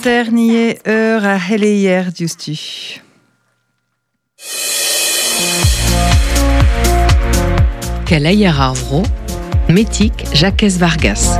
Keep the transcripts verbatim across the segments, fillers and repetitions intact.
Ternie eur a heleier diouzhtu. Keleier ar vro, Metik Jacques Vargas.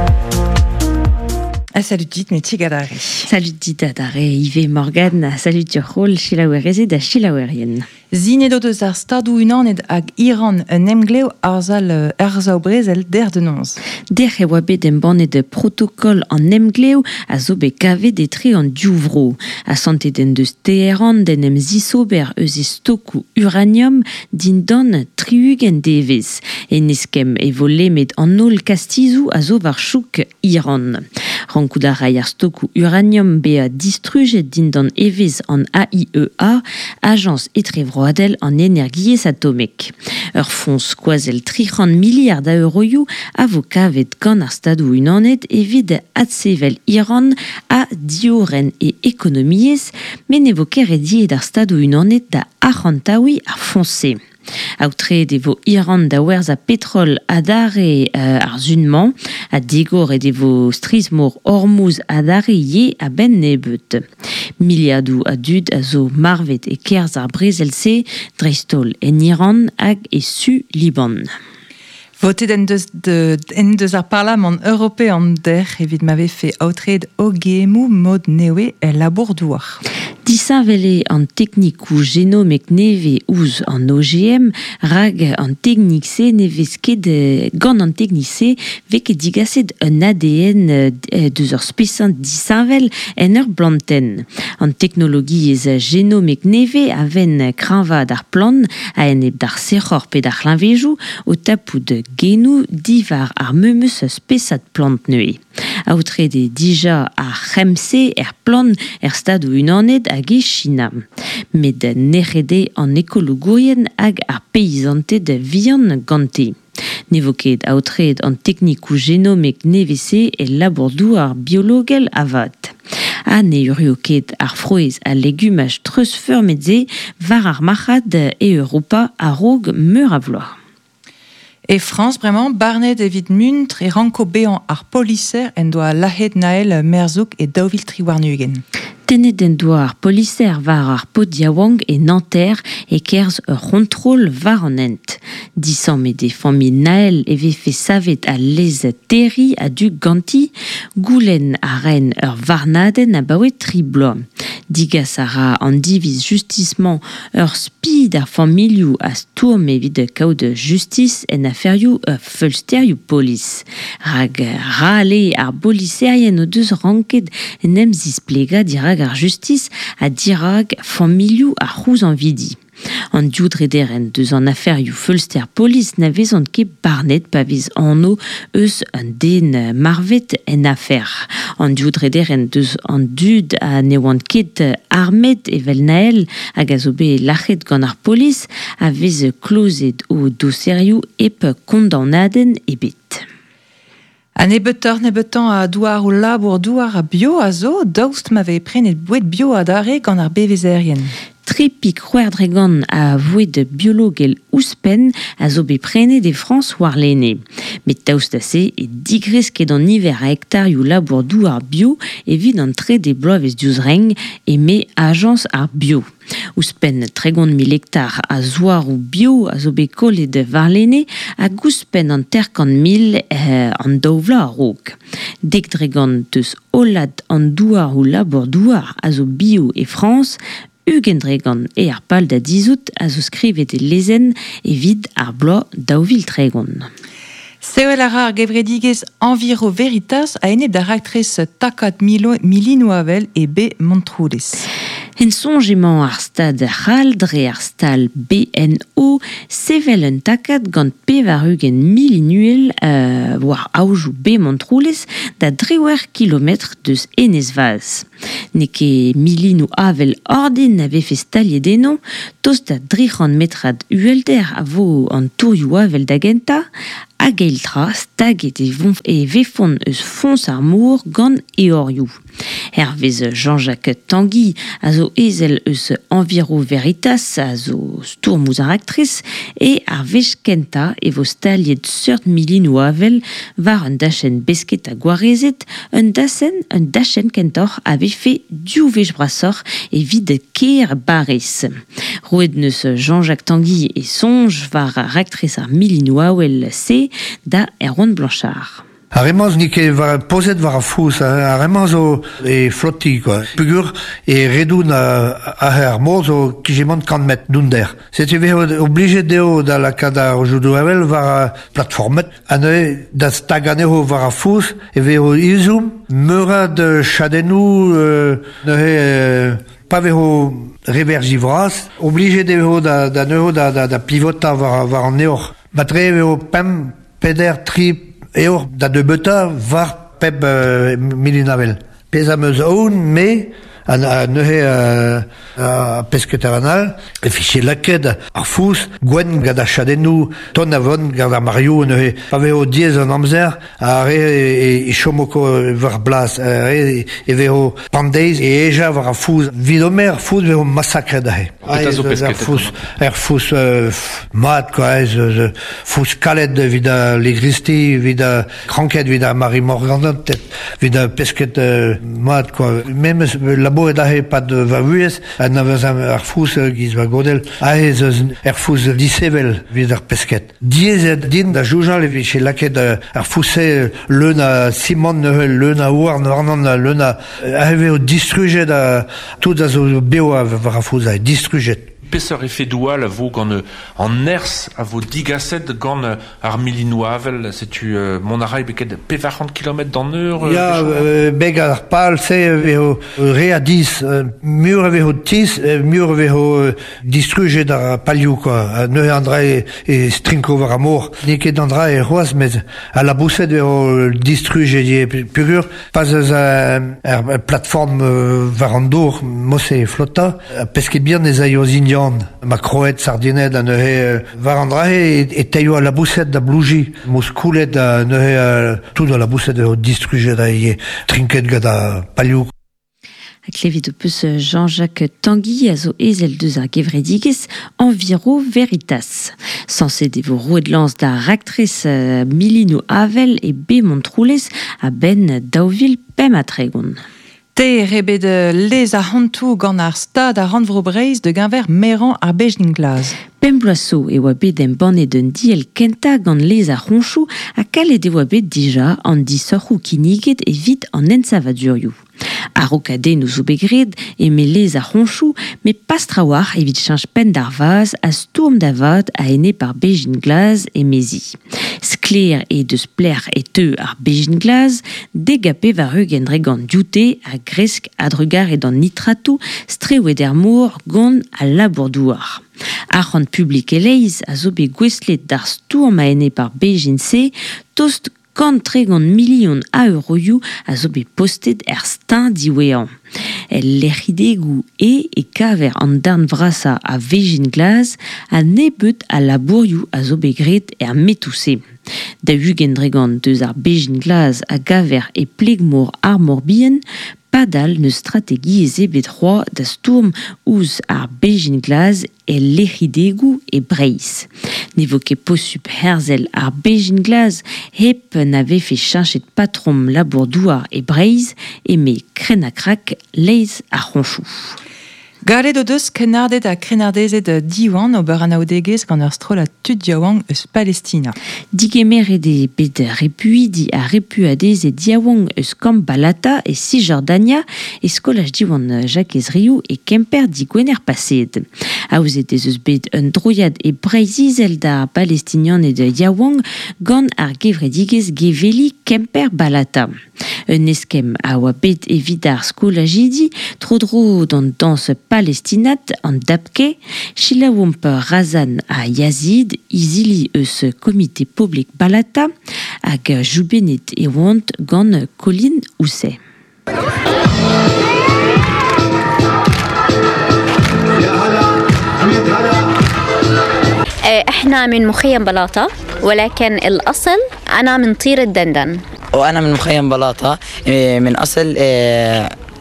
Ah, salut dit, Metik adare. Salut dit adare, Yves Morgan, salut Turhol, Chilaouereze da Chilaouerien. Zinet o deus ar stadou unanet hag Iran un emglev arzal arzao brezel der de nonz. Der e oa bet embannet protokol an emglev a zo bet kavet etre an diouvro. A santet en deus Teheran den em zisober eus e stokou uranium dindan triugen devez. En eskem e vo lemet an holl kastizou a zo war chouk Iran. Rankout a ray ar stokou uranium bea distrujet dindan evez an A I E A, Agence etrevro Roadel an energiez atomek. Ur foñs skoazel tric'hant miliard a euroioù a vo kavet gant ar stadoù unanet evit adsevel Iran a dioren e ekonomiez, met ne vo ket rediet ar stadoù unanet da arc'hantaouiñ ar foñs-se. Aotreet e vo Iran da werzhañ petrol adare euh, ar zunmañ, ha digoret e vo strizh-mor Hormuz adare ye a-benn nebeut. Miliadoù a dud a zo marvet e kerzh ar brezel-se, dreist-holl en Iran hag e su Liban. Votet en deus, de, en deus ar Parlamant european der evit ma vefe aotreet O G M-où mod newe el labour douar. Disheñvel an teknikoù genomek neve ouzh an O G M, rag an teknik-se ne vez ket gant an teknik-se vez ket digaset un A D N deus ur spesad disheñvel en ur blantenn. An teknologiezh genomek neve a venn kreñvaat ar plant a-enep d'ar sec'hor pe d'ar c'hleñvejoù o tapout genoù divar ar memes spesad plant neuze. Aotreet eo dija ar c'hemm-se er plant er stadoù unanet hag e China. Met nec'het eo an ekologourien hag ar peizanted vihan gante. Ne vo ket aotreet an teknikoù genomek nevez-se e labour-douar biologel avat. Ha ne urio ket ar frouezh ha legumaj treuzfeurmet-se war ar marc'had e Europa a-raok meur a vloaz. E France, bremañ, barnet evit muntr e ranko bezañ ar poliser en doa lazhet Naël Merzouk e daou vil tri warn-ugent. Tennet en doa ar poliser war ar pod yaouank e Nanterre e kerzh ur c'hontrol war an hent. Disammet e familh Naël e vefe savet al lez terri a-du ganti, goulenn a ren ur varnadenn abaoe tri bloaz. Digas a ra an diviz justismañ ur spi d'ar familhoù a stourm evit kaout justis en aferioù feulsterioù polis. Rag rale ar boliserien o deus ranket en em zisplegañ dirak ar justis ha dirak familhoù ar c'houzanvidi. An div drederenn deus an aferioù feulster polis na vezont ket barnet pa vez anv eus un den marvet en afer. An div drederenn deus an dud a ne oant ket armet evel Naël hag a zo bet lac'het gant ar polis a vez klozet o doserioù hep kondaonadenn ebet. A nebeutoc'h nebeutañ a douar o labour douar a bio a zo, daoust ma vez prenet boued bio adarre gant ar bevezerien. Tripik c'hwec'h dregont a voued biologel ouzhpenn a zo bet prenet e Frañs warlene. Met daoust da se e digresket an niver a hektarioù labour douar bio evit an trede bloavezh diouzh renk eme Ajañs ar bio. Ouzhpenn tregont mil hektar a zouaroù bio a zo bet kollet warlene hag ouzhpenn an terkant mil eh, an daou vloaz a-raok. Dek dregont deus hollad an douaroù labour douar a zo bio e Frañs, ugent dregont e ar pal da dizout a zo skrivet e lezenn evit ar bloaz daou vil tregont. Sevel a ra ar gevredigezh Enviro Veritas a enep da raktres takad milo, milinoù avel e B Montroulez. En soñj emañ ar stad c'hall dre ar stal B N O sevel un takad gant pevar ugent milinuel euh, war aojoù B Montroulez da driwec'h kilometr deus Enez-Vaz. N'eo ket milinoù avel ordin a vefe staliet eno, tost da dri c'hant metrad uhelder a vo an tourioù avel da gentañ, hag eil tra staget e von, e vefont eus foñs ar mor gant eorioù. Hervez Jean-Jacques Tanguy a zo ezel eus Enviro Veritas a zo stourm ouzh ar raktres e ar wech kentañ e vo staliet seurt milinoù avel war un dachenn besket ha gwarezet, un dachenn, un dachenn kentoc'h a vefe div wech brasoc'h evit kêr Bariz. Roet neus Jean-Jacques Tanguy e soñj war ar raktres ar milinoù avel se da Erwan Blanchard. Ar re-mañ n'eo ket war, pozet war ar fouz, ar re-mañ zo e flotti, quoi. Pugur e redoun a ar mor zo kijemant kant metr dounder. Setu vezo oblijet dezho da lakaat ar roudoù avel war ar platformet, ha neuze da stag anezho war ar fouz e vezo izoum meur a chadennoù euh, neuze euh, pa vezo reverji vras, oblijet dezho da, da neuze da, da, da pivotañ war, war an eor. Matre vezo pemp, peder, tri eor da debeuta war pep euh, milinavel. Pezh am eus aon, me, a, a neuze a, a pesketer an all, e fiche laket ar fouz, gwenn gant ar chadennoù, ton a von gant ar marioù neuze. Pa vezo diez an amzer, a re e, e chomoko war blas, a re e vezo pandeiz e eja war ar fouz. Vid omer ar fouz vezo massakret aze. Petra zo Ar pesketet fouz, er fouz euh, mat, quoi, ez, ez, fouz kalet evit a legristi, evit a kranket, evit a Marie Morgan, evit a pesket euh, mat, quoi. Memes labouret aze pad va vuhez, a navez ar fouz giz va godel, aze eus er fouz disevel evit ar pesket. Diez din da joujal evit che laket ar fouz-se leun a simant neuze, leun a houarn warnan, leun a... Aze vezo distrujet a, tout a zo beo a war ar fouz aze, distrujet. Peseurt efedoù all a vo gant an nerzh a vo digaset gant ar milinoù avel, setu euh, mont a ray beket pevar c'hant kilometr d'an eur euh, Ya, euh, beg ar pal se vezo re a diz, mur a vezo tiz, mur a vezo distrujet ar palioù, quoi. Neuze an dra e, e strinko war ar mor. N'eo ket an dra e c'hoazh, met a la bouset vezo distrujet e pugur, pas eus ar plateforme war an dour, mose flotta, pesket bihan ez aio zindian. Ma kroet, sardinet, a neuze war an dra e, e teio a la bouset da blouji, mos koulet a neuze tout a la bouset vezo distrujet a e trinket gant ar palioù. A klevit o peus Jean-Jacques Tanguy a zo ezel deus ar gevredigezh Enviro Veritas. Sañset e vo roet lañs da raktres euh, milinoù avel e be Montroulez a benn daou vil pemp ha tregont. Teir eo bet lez ar c'hontoù gant ar stad ar rannvro Breizh de geñver merañ ar bezhin glas. Pemp bloaz zo e oa bet embannet un diell kentañ gant lez ar c'honchoù ha kalet e oa bet dija an disoc'hoù kinniget evit an ensavadurioù. A-raokadennoù zo bet graet eme lez ar c'honchoù, met pas trawalc'h evit cheñch penn d'ar vazh ha stourm da vat a-enep ar bezhin glas emezi. Sklaer eo deus pelec'h e teu ar bezhin glas, dek ha pevar-ugent dre gant dioute a gresk a-drugarez d'an nitratoù strewet er mor gant al labour-douar. Arc'hant publik e-leizh a zo bet gouestlet d'ar stourm a-enep ar bezhin-se, tost kant tregont milion a euroioù a zo bet postet er steuñv diwezhañ. El lec'hidegoù e e kaver an darn vrasañ a vezhin glas ha nebeut a labourioù a zo bet graet er metoù-se. Da ugent dre gant deus ar bezhin glas a gaver e pleg-mor ar Mor-Bihan, padal n'eus strategiezh ebet c'hoazh da stourm ouzh ar bezhin glas el lec'hidegoù e Breizh. Ne vo ket posupl herzel ar bezhin glas hep na vefe cheñchet patrom labour-douar e Breizh eme krenn-ha-krak lez ar c'honchoù. Gallet o deus krennarded ha krennardezed Diwan ober anaoudegezh gant ur strollad tud yaouank eus Palestina. Digemeret eo bet repuidi ha repuadezed yaouank eus kamp Balata e Cisjordania e skolaj Diwan Jakez Riou e Kemper digwener paseet. Aozet ez eus bet un droiad e Breizh-Izel d'ar Palestinianed yaouank gant ar gevredigezh geveli Kemper Balata. Un eskemm a oa bet evit ar skolajidi tro-dro d'an dañs palestinat an dabke, selaouomp Razan ha Yazid, izili eus komite poblek Balata, hag jubennet e oant gant Colin Ousset. احنا من مخيم بلاطة، ولكن الأصل أنا من طيرة دندن. وأنا من مخيم بلاطة من أصل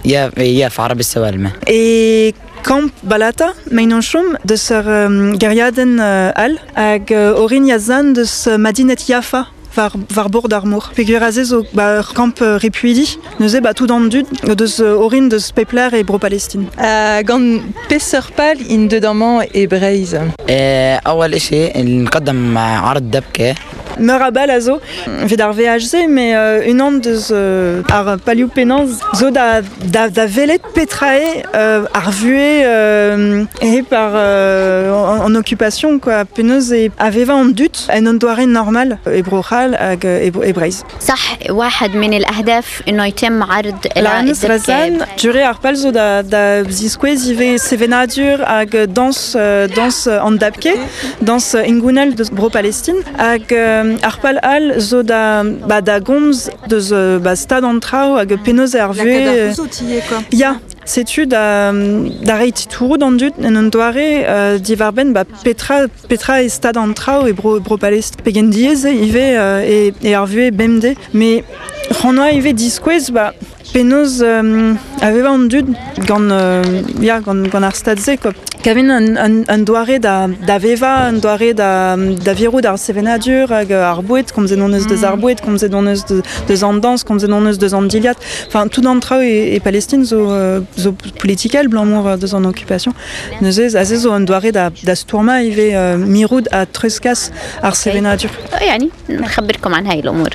يافا عرب السوالمة. E kamp Balata, meinonchom, deus ur um, geriadenn uh, all, hag uh, orin yazan deus uh, Madinet Yafa war, war bord ar mor. Peogwir aze zo ba, ur kamp uh, repuidi, neuze ba tout an dud deus uh, orin deus pepler e Bro-Palestine. Uh, gant peseurt pal int deut amañ e Breizh? أول إشي نقدم عرض دبكة. Meur a bal a zo, evit ar V H C, mais euh, unan deus euh, ar palioù pennañ zo da, da, da velet petra eo euh, ar vuhez euh, e par euh, en, en occupation, quoi. Penaos e a vevañ an dud en un doare normal e Bro-C'hall hag e, e Breizh. صح واحد من الأهداف إنه يتم عرض Laranes Razan, jure ar pal zo da, da ziskouez ivez sevenadur hag dans, euh, dans an dabke, dans ingounel deus Bro-Palestine, hag euh, ar pal all zo da, ba, da gomz deus ba, stad an traoù hag penaos ar vuhez... Ya, setu da, da reiñ titouroù d'an dud en un doare euh, diwarbenn ba, petra, petra e stad an traoù e bro, Bro-Palestine. Pegen diaes ivez euh, e, e ar vuhez bemdez. Mais c'hoant ivez diskouez ba, penaos euh, a veva an dud gant, euh, ya, gant, gant ar stad-se, quoi. Kavin un, un, un doare da, da veva, un doare da, da virout ar sevenadur hag ar boued, komzet hon eus deus ar boued, komzet hon eus deus an dans, komzet hon eus deus an diliad. Enfin, tout an traoù e, e Palestine zo, zo politikel, blamour deus an occupation. Neuze, aze zo un doare da, da stourma ivez euh, mirout ha treuzkas ar sevenadur. يعني نخبركم عن هاي الأمور.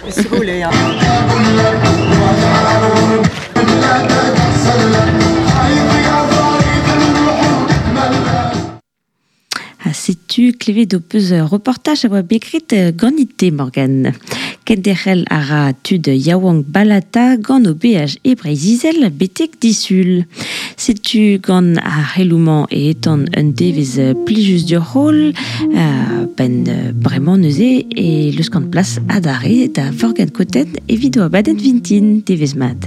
Ha setu klevet ho peus reportaj a oa bet ganit Morgan. Kenderc'hel a ra tud yaouank Balata gant o beaj e Breizh-Izel betek disul. Setu gant ar c'heloumañ e etan un devez plijus d'ur rôle, euh, ben bremañ neuze e leus gant plas adarre da Vorgan Koten evit o abadenn vintin devez mat.